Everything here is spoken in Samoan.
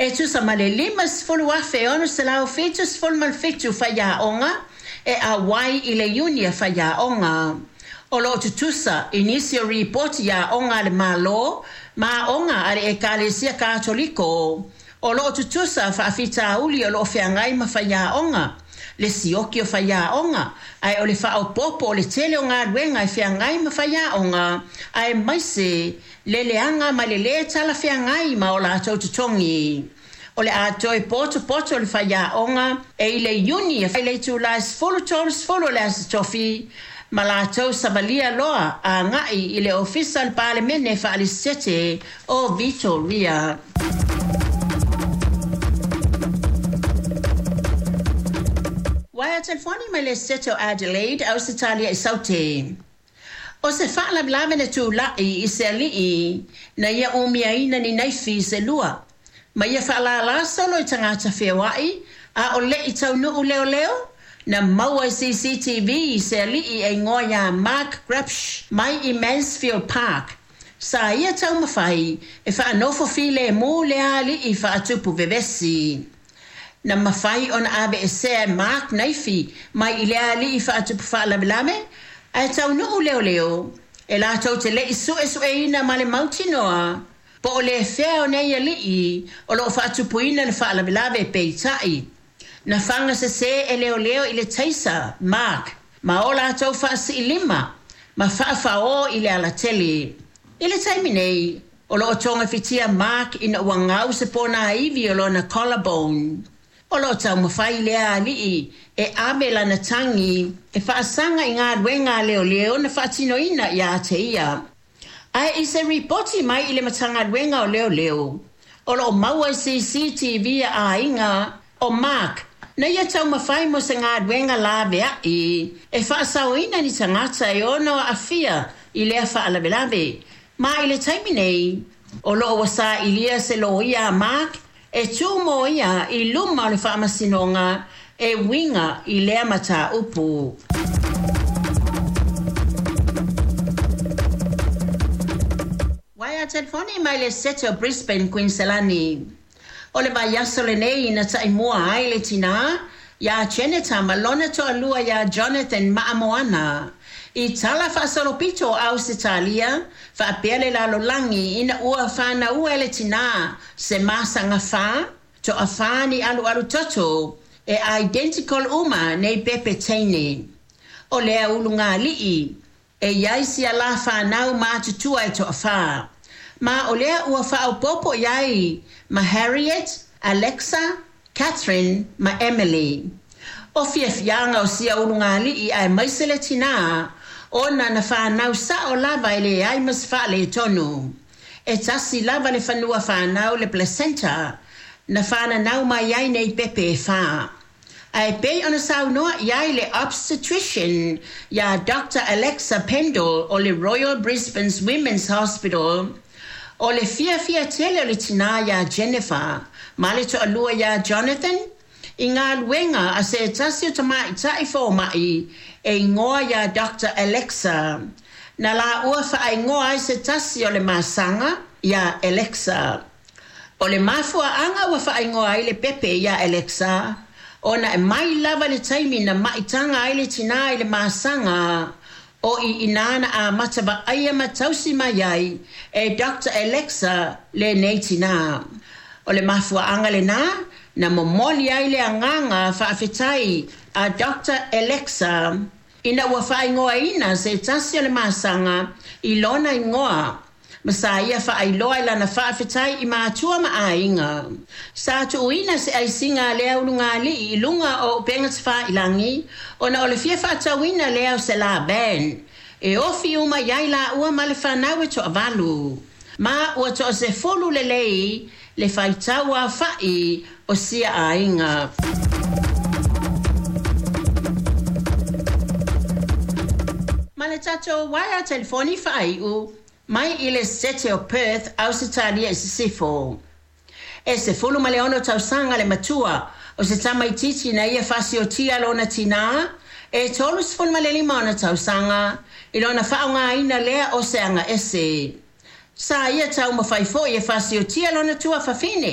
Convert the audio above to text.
E tusa ma le 50,677 faiaoga e auai i le iuni a faiaoga. O lo o tutusa i nisi o ripoti i aoga a le Malo ma aoga a le Ekalesia Katoliko. O lo o tutusa faafitauli o lo o feagai ma faiaoga, le sioki o faiaoga, ae o le faaopoopo o le tele o galuega e feagai ma faiaoga, aemaise le leaga ma le lē talafeagai ma o latou totogi. O le a toe potopoto le faiaoga e i le Iuni i le itula e 10:30 o le Aso Tofi ma latou savalia loa agai i le Ofisa o le Palemene Faalesetete o Vitoria. Uaea telefoni mai le Esetete o Adelaide, Ausetalia i Saute. O se faalavelave na tulai i se alii na ia umiaina ni naifi se lua, ma ia faalālā solo i tagata feoai a o le i taunuu leoleo, na maua i CCTV se alii e igoa ia Mark Grabsch mai i Mansfield Park. Sa ia taumafai e faanofo filemu lea alii faatupu vevesi. Na mafai ona aveesea e Mark naifi mai i lea alii faatupu faalavelave, ae taunuu leoleo e latou te le i suesueina ma le mautinoa po o le fea o nei alii o lo o faatupuina le faalavelave peitai. Na faga sesē e leoleo i le taisa Mark ma o latou faasiilima ma faafaõ i le alatele. I le taimi nei, o lo o togafitia Mark ina ua gau se ponaivi o lona collarbone. O lo o taumafai lea alii e ave lana tagi e faasaga i galuega a leoleo na faatinoina ia te ia. Ae i se ripoti mai i le Matagaluega o Leoleo, o lo o maua i CCTV a aiga o Mark na ia taumafai mo se galuega laveai e faasaoina ni tagata e ono aafia i lea faalavelave. Ma i le taimi nei, o lo o ua sailia se loia a Mark e tū mo ia i luma o le faamasinoga e uiga i lea mataupu. Uaea telefoni mai le Esetete o Brisbane, Kuiniselani. O le vaiaso lenei na taimua ai le tinā iā Jeneta ma lona toalua iā Jonathan Maamoana i tala faasolopito o Ausetalia faapea le lalolagi ina ua fanaua e le tinā se masaga fā, toafā ni alualu toto e identical uma nei pepe teine. O lea ulugalii e i ai sia la fanau matutua e toafā. Ma o lea ua faaopoopo i ai ma Harriet, Alexa, Catherine ma Emily. O fiafiaga o sia ulugalii aemaise le tinā ona na fanau sao lava e leai ma se faaletonu. E tasi lava le fanua fanau le placenta na fananau mai ai nei pepe e fā. Ae pei ona saunoa i ai le obstetrician ia Doctor Alexa Pendle o le Royal Brisbane's Women's Hospital, o le fiafia tele o le tinā iā Jennifer ma le toalua iā Jonathan i galuega a se tasi o tamaitai fomai e igoa ia Doctor Alexa. Na laua faaigoa ai se tasi o le masaga iā Alexa. O le mafuaaga ua faaigoa ai le pepe iā Alexa, ona e mai lava le taimi na maitaga ai le tinā i le masaga, o i inā na amata vaaia ma tausi mai ai e Doctor Alexa lenei tinā. O le mafuaaga lenā na momoli ai le agaga faafetai a Doctor Alexa ina ua faaigoaina se tasi o le masaga i lona igoa ma sa ia faailoa i lana faafetai i matua ma aiga. Sa tuuina se aisiga a lea ulugalii i luga o upega tafailagi ona o le fia faatauina lea o se la van e ofi uma i ai laua ma le fanau e toavalu. Ma ua toasefulu lelei le faitau aofai o sia aiga. Ma le tatou uaea telefoni faaiu mai i le Esetete o Perth, Ausetalia i Sisifo. E 16 tausaga le matua o se tamaitiiti na ia faasiotia lona tinā e 35 ona tausaga i lona faaaogaina lea o se agaese. Sa ia taumafai foi e faasiotia lona tuafafine.